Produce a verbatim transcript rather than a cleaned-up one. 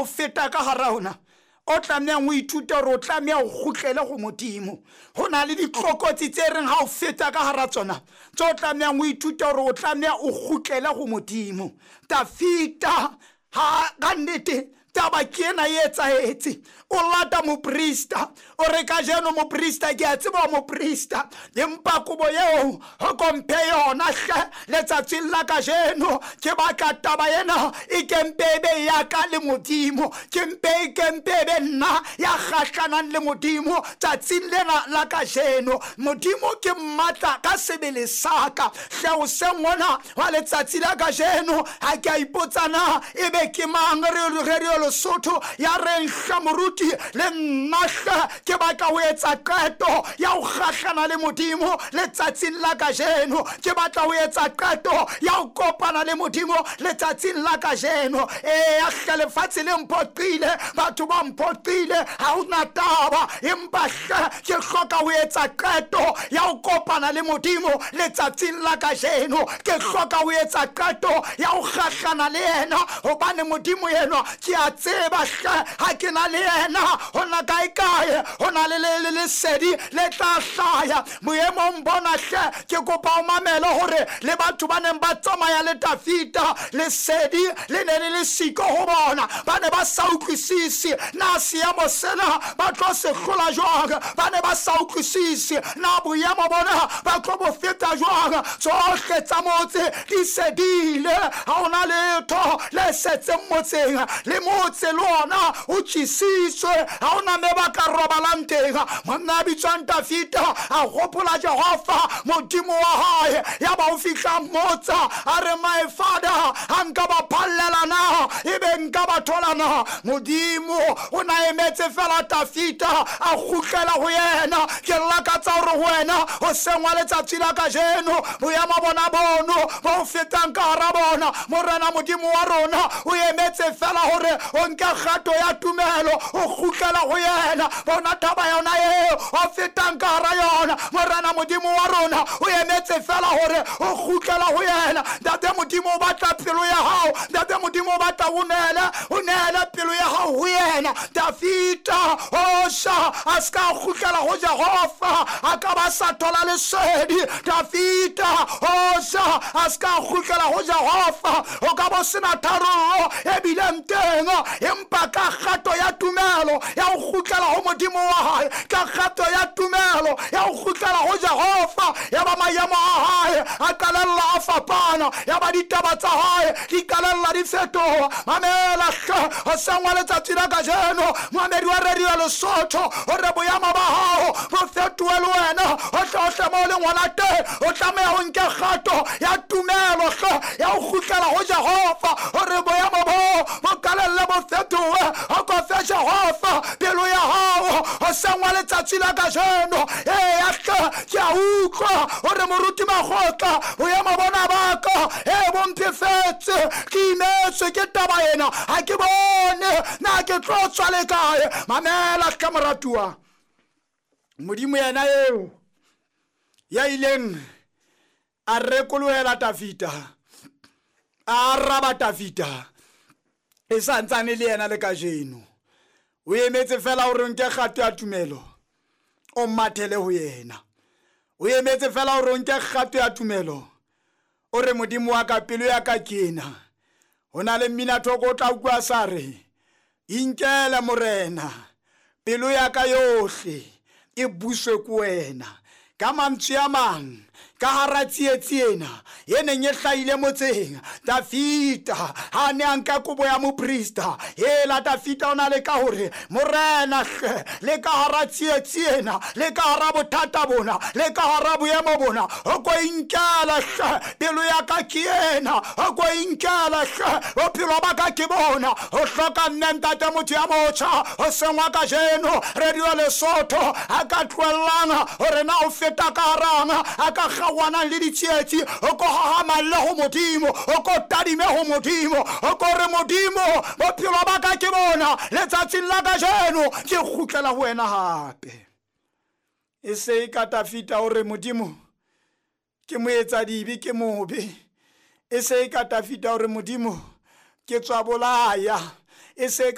o feta ka hara ona o tlamehang ho ithuta hore o tlameha o kgutlele ho Modimo. Ho na le ditlokotsi tse reng ha o feta ka hara tsona tse o tlamehang ho ithuta hore o tlameha o kgutlele ho Modimo. Dafita ha ka nnete taba ke ena e etsahetse, o lata moprista, o re kajeno moprista ke a tseba moprista, empa kobo eo ho komphe yona hle letsatsing la kajeno. Ke batla taba ena e kempe e be ya ka le Modimo, ke mpe e kempe e be nna ya kgahlanang le Modimo tsatsing lena la kajeno. Modimo ke mmatla ka sebele sa ka hle hoseng hona wa letsatsi la kajeno. Ha ke a ipotsa na ebe ke mang re re Lesotho ya reng hle moruti le nna hle ke batla ho etsa qeto ya ho kgahlana le Modimo letsatsing la kajeno. Ke batla ho etsa qeto ya ho kopana le Modimo letsatsing la kajeno. Eya hle lefatshe le mphoqile, batho ba mphoqile, ha hona taba, empa hle ke hloka ho etsa qeto ya ho kopana le Modimo letsatsing la kajeno. Ke hloka ho etsa qeto ya ho kgahlana le yena, hobane Modimo enwa ke a tseba hle ha ke na le yena hona kae kae ho na le le lesedi le tla hlaya boemong bona hle. Ke kopa o mamele hore le batho ba neng ba tsamaya le Dafita, lesedi le ne le le siko ho bona, ba ne ba sa utlwisise na seemo sena ba tlo se hlola jwang, ba ne ba sa utlwisise na boemo bona ba tlo bo feta jwang. Tsohle tsa motse di sedile, ha hona letho le setseng motseng, le motse le ona o tjhisitswe, ha hona me ba ka robalang teng. Monna a bitswang Dafita a hopola Jehova Modimo wa hae, ya ba o fihla mmotsa a re, my father, ha nka ba phallela na ebe nka ba thola na? Modimo o na emetse fela Dafita a kgutlela ho yena. Ke lakatsa hore ho wena hoseng wa letsatsi la kajeno boemo bona bono bo fetang ka hara bona, Morena Modimo wa rona o emetse fela hore o nke kgato ya tumelo o kgutlela ho yena. Bona taba yona eo o fetang ka hara yona, Morena Modimo wa rona o emetse fela hore o kgutlela ho yena. Ntate Modimo o batla pelo ya hao, Ntate Modimo o batla o neele o neele pelo ya hao ho yena. Dafita osha a ska kgutlela ho Jehova a ka ba sa thola lesedi. Dafita osha a ska kgutlela ho Jehova o ka bo sena tharollo e bileng teng, empa ka kgato ya tumelo ya ho kgutlela ho Modimo wa hae, ka kgato ya tumelo ya ho kgutlela ho Jehova, ya ba maemo a hae a qalella a fapana, ya ba ditaba tsa hae di qalella di fetoha. Mamela hle hoseng wa letsatsi la kajeno, moamedi wa Radio Lesotho, hore boemo ba hao bo fetohe le wena hohle hohle mo o leng hona teng. O tlameha ho nke kgato ya tumelo hle ya ho kgutlela ho Jehova, hore boemo bo bo qalelle bo fetohe. O ko fe Jehova pelo ya hao hoseng wa letsatsi la kajeno. Eya hle ke a utlwa hore moruti Makgotla boemo bona ba ka e bo mphefetse, ke imetswe ke taba ena, ha ke bone na ke tlo tswa le kae. Mamela hle moratuwa, Modimo yena eo ya ileng a rekolohela Dafita, a araba Dafita, e santsane le yena le kajeno. O emetse fela hore nke kgato ya tumelo o mathele ho yena. O emetse fela hore nke kgato ya tumelo o re Modimo wa ka pelo ya ka ke ena. Ho na le mmina thoko o tla utlwa sa re, inkele Morena pelo ya ka yohle e buswe ke wena. Ka mantswe a mang, ka hara tsietsi ena e neng e hlahile motseng, Dafita ha ne a nka kobo ya moprista. Hela Dafita o na le ka hore Morena hle le ka hara tsietsi ena, le ka hara bothata bona, le ka hara boemo bona, o ko inkela hle pelo ya ka ke ena, o ko inkela hle bophelo ba ka ke bona. O hloka nne ntate motho ya motjha hoseng wa kajeno Radio Lesotho a ka tlohellang hore na o feta ka harang a ka kgaohanang le ditsietsi, o ko hahamalle ho Modimo, o ko tadime ho Modimo, o ko re Modimo bophelo ba ka ke bona letsatsing la kajeno ke kgutlela ho wena hape. E se e ka Dafita hore Modimo ke moetsadibe ke mobe, e se e ka Dafita hore Modimo ke tswa bolaya, e se ka